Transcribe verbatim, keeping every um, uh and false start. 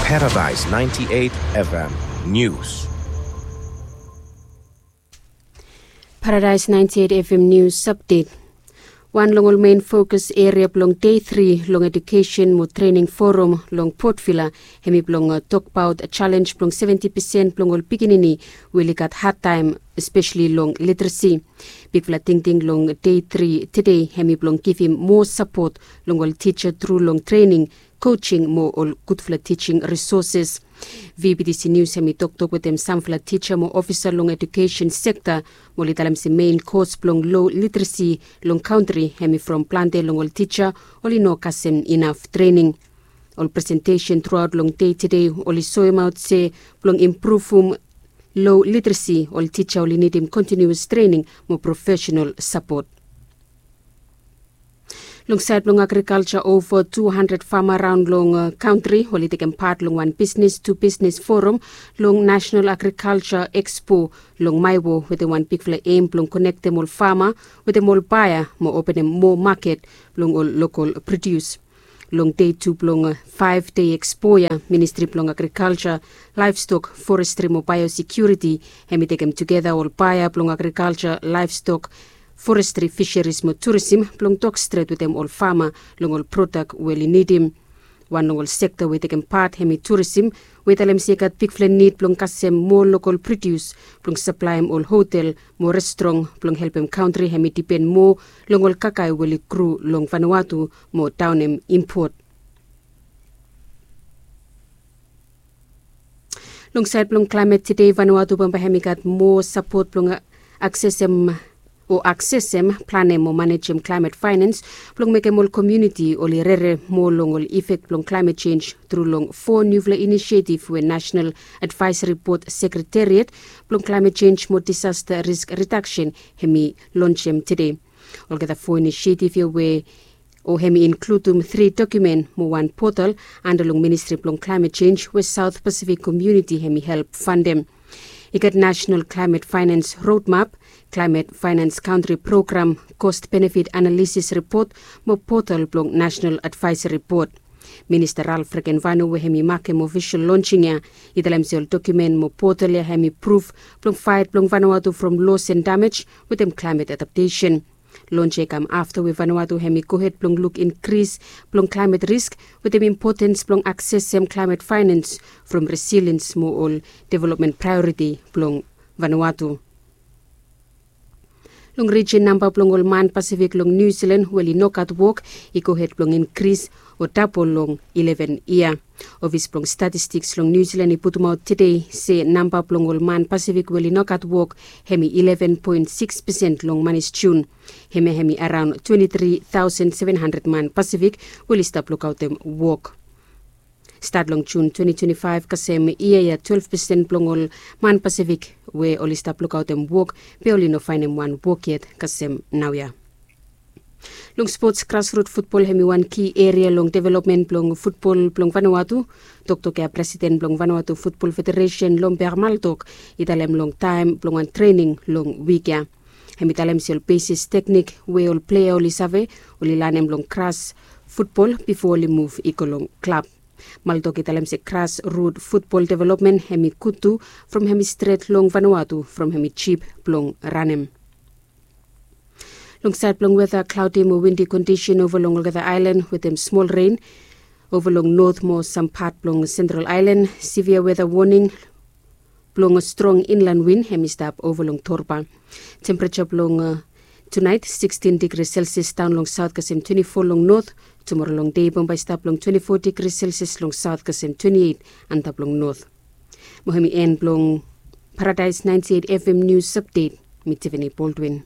Paradise ninety-eight F M News. Paradise ninety-eight F M News Update. Wan long ol main fokus eria blong dei tri long edukesen mo trening forum long Port Vila, hemi blong tokbaot jalenj blong seventi pesen blong ol pikinini we oli gat hadtaem, espeseli long literesi. Bigfala tingting long dei tri tede hemi blong givim moa sapot long ol tija tru long trening, coaching mo ol gudfala teaching resources. V B T C News hemi toktok wetem samfala tija mo ofisa long edukesen sekta, mo oli talem se mein kos blong lo literesi long kantri hemi from plante long ol tija oli no kasem inaf trening. Ol presentesen truaot long dei tede oli soemaot se blong impruvum lo literesi, ol tija oli nidim kontiniuas trening mo profesenal sapot. Long saed blong agrikalja, ova tu handred fama raon long kantri oli tekem pat long wan bisnes tu bisnes forum long National Agriculture Expo long Maewo, wetem wan bigfala em blong konektem ol fama wetem ol baea mo openem moa maket blong ol lokol produs. Long dei tu blong faef dei ekspo ya, Ministri blong Agrikalja, Laevstok, Forestri mo Baeosekiuriti hemi tekem tugeta ol baea blong agrikalja, laevstok, forestri, fiseris mo turisim blong tok stret wetem ol fama long ol prodak we oli nidim. Wan long ol sekta we i tekem pat hemi turisim, we i talem se i gat bigfala nid blong kasem moa lokol produs blong saplaem ol hotel mo restrong blong helpem kantri hemi dipen moa long ol kakae we oli gru long Vanuatu mo daonem impot. Long saed blong klaemet tede, Vanuatu bambae hemi gat moa sapot blong aksesem o aksesem, planem o manejem klaemet faenans blong mekem ol komuniti oli rere moa long ol ifek blong klaemet jenj tru long fo niufala inisietif we National Advisory Board Sekretariat blong Klaemet Jenj mo Disasta Risk Ridaksen hemi lonjem tede. Olgeta fo inisietif ya we o hemi inkludum tri dokumen mo wan potal anda long Ministri blong Klaemet Jenj we Saot Pasifik komuniti hemi help fandem. I gat National Climate Finance Roadmap, Climate Finance Country Program, Cost Benefit Analysis Report mo potal blong National Advisory Board. Minista Ralph Regenvanu we hemi makem ofisol lonjing ya i talem se ol dokumen mo potal ya hemi pruf blong faet blong Vanuatu from los and damej wetem klaemet adaptesen. Lonj ya i kam afta we Vanuatu hemi gohed blong luk inkris blong klaemet risk wetem impotens blong aksesem klaemet faenans from resiliens mo ol developmen praeoriti blong Vanuatu. Long rijin, namba blong ol man Pasifik long Niu Jilan we oli no gat wok i gohed blong inkris o dabol long ileven yia. Ofis blong Statistiks long Niu Jilan i putumaot tede se namba blong ol man Pasifik we oli no gat wok hemi ileven poen sikis pesen long manis Jun. Hemia hemi araon twenti tri taosen seven handred man Pasifik we oli stap lukaotem wok. Stat long Jun twenti twenti faef kasem yia ya, twelef pesen blong ol man Pasifik we oli stap lukaotem wok, be oli no faenem wan wok yet kasem naoia. Long spots, grasrut futbol hemi wan ki eria long developmen blong futbol blong Vanuatu. Toktok ya presiden blong Vanuatu Futbol Federesen, Lomber Maltok, i talem long taem blong wan trening long wik ya. Hemi talem se ol besis teknik we ol plea oli save, oli lanem long gras futbol bifo oli muv i go long klab. Maltok i talem se grasrut futbol developmen hemi gud tu from hemi stret long Vanuatu from hemi jip blong ranem. Long saed blong weta, klaodi mo windi kondisen ova long olgeta aelan wetem smol ren ova long not mo sam pat blong Sentral Aelan. Sivia weta woning blong strong inlan win hemi stap ova long Torba. Tempereja blong tunaet sikstin digri Celsius daon long saot kasem twenti fo long not. Tumora long dei bambae i stap long twenti fo digri Celsius long saot kasem twenti eit antap long not. Mo hemi en blong Paradise ninety eight F M News Update. Mi Tiffany Baldwin.